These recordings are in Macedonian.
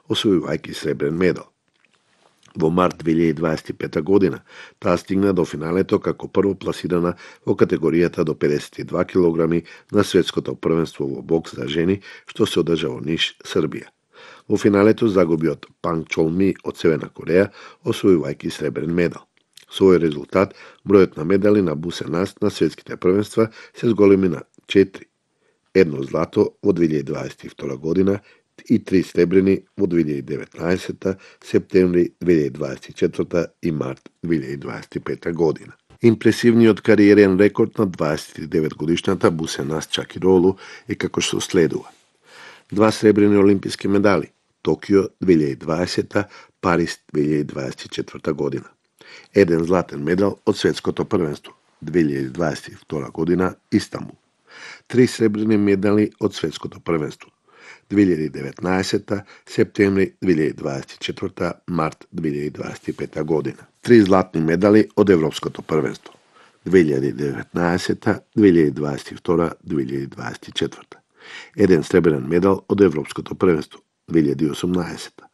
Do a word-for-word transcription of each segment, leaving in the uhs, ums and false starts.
освојувајќи сребрен медал. Во март две илјади дваесет и пета година таа стигна до финалето како прво пласирана во категоријата до педесет и два килограми на светското првенство во бокс за жени, што се одржа во Ниш, Србија. Во финалето загуби од Панг Чолми од Северна Кореја, освојувајќи сребрен медал. Со овој резултат, бројот на медали на Бусенас на светските првенства се зголеми на четири. Едно злато во две илјади дваесет и втора година и три сребрени во две илјади деветнаесета, септември две илјади дваесет и четврта и март две илјади дваесет и пета година. Импресивниот кариерен рекорд на дваесет и девет годишната Бусенас Чакиролу е како што следува. Два сребрени олимписки медали, Токио две илјади дваесета, Париз две илјади дваесет и четврта година. Еден златен медал од светското првенство, две илјади дваесет и втора година, Истанбул. Три сребрени медали од светското првенство, две илјади деветнаесета, септември две илјади дваесет и четврта, март две илјади дваесет и пета година. Три златни медали од Европското првенство, две илјади деветнаесета, две илјади дваесет и втора, две илјади дваесет и четврта. Еден сребрен медал од Европското првенство, две илјади осумнаесета.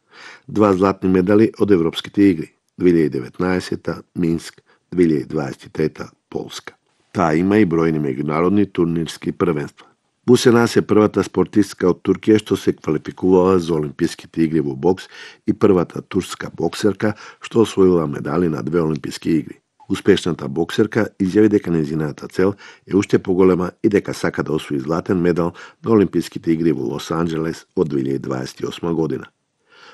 Два златни медали од Европските игри, две илјади деветнаесета, Минск, две илјади дваесет и трета, Полска. Таа има и бројни меѓународни турнирски првенства. Бусенас е првата спортистка од Туркија што се квалификувала за Олимписките игри во бокс и првата турска боксерка што освоила медали на две Олимписки игри. Успешната боксерка изјави дека нејзината цел е уште поголема и дека сака да освои златен медал на Олимписките игри во Лос Анџелес од две илјади дваесет и осма година.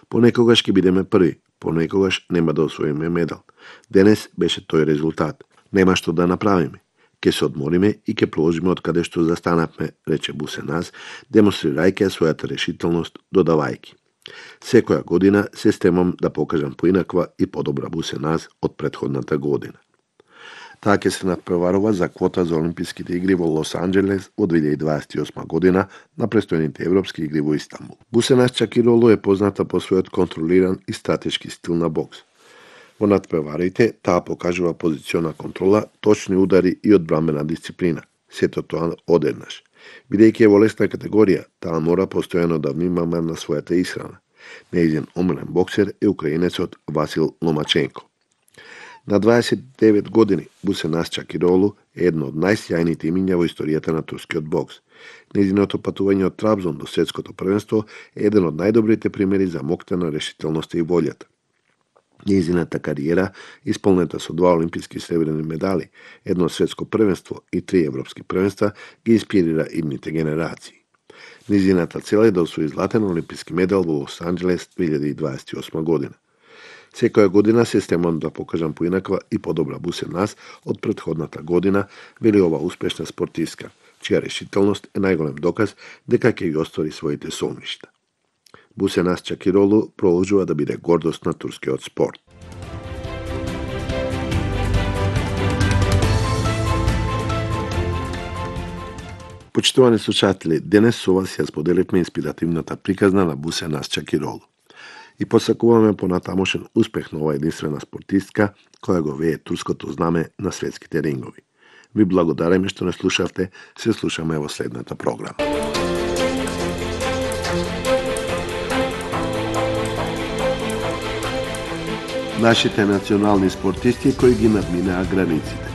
Понекогаш ќе бидеме први, понекогаш нема да освоиме медал. Денес беше тој резултат. Нема што да направиме. Ке се одмориме и ке продолжиме од каде што застанавме, рече Бусенас, демонстрирајќи својата решителност, додавајќи. Секоја година се стремам да покажам поинаква и подобра Бусенас од претходната година. Таа ќе се надпреварува за квота за Олимписките игри во Лос Анџелес во две илјади дваесет и осма година на престојните Европски игри во Истанбул. Бусенас Чакиролу е позната по својот контролиран и стратешки стил на бокс. Во надпреварите таа покажува позициона контрола, точни удари и одбранбена дисциплина. Сето тоа одеднаш. Бидејќи е во лесна категорија, таа мора постојано да внимава на својата исхрана. Нејзин омилен боксер е украинецот Васил Ломаченко. На дваесет и девет години Бусенас Чакиролу е едно од најсјајните имиња во историјата на турскиот бокс. Нејзиното патување од Трабзон до светското првенство е еден од најдобрите примери за моќта, решителноста и волјата. Нејзината кариера, исполнета со два олимписки сребрени медали, едно светско првенство и три европски првенства, ги инспирира идните генерации. Нејзината цел е да освои златен олимписки медал во Лос Анџелес две илјади дваесет и осма година. Секоја година се стремам да покажам поинаква и подобра Бусенас од претходната година, вели ова успешна спортистка, чија решителност е најголем доказ дека ќе ги оствари своите соништа. Бусенас Чакиролу продолжува да биде гордост на турскиот спорт. Почитувани слушатели, денес со вас ја споделивме инспиративната приказна на Бусенас Чакиролу. И посакуваме понатамошен успех на оваа единствена спортистка која го вее турското знаме на светските рингови. Ви благодариме што не слушавте, се слушаме во следната програма. Нашите национални спортисти кои ги надминаа границите.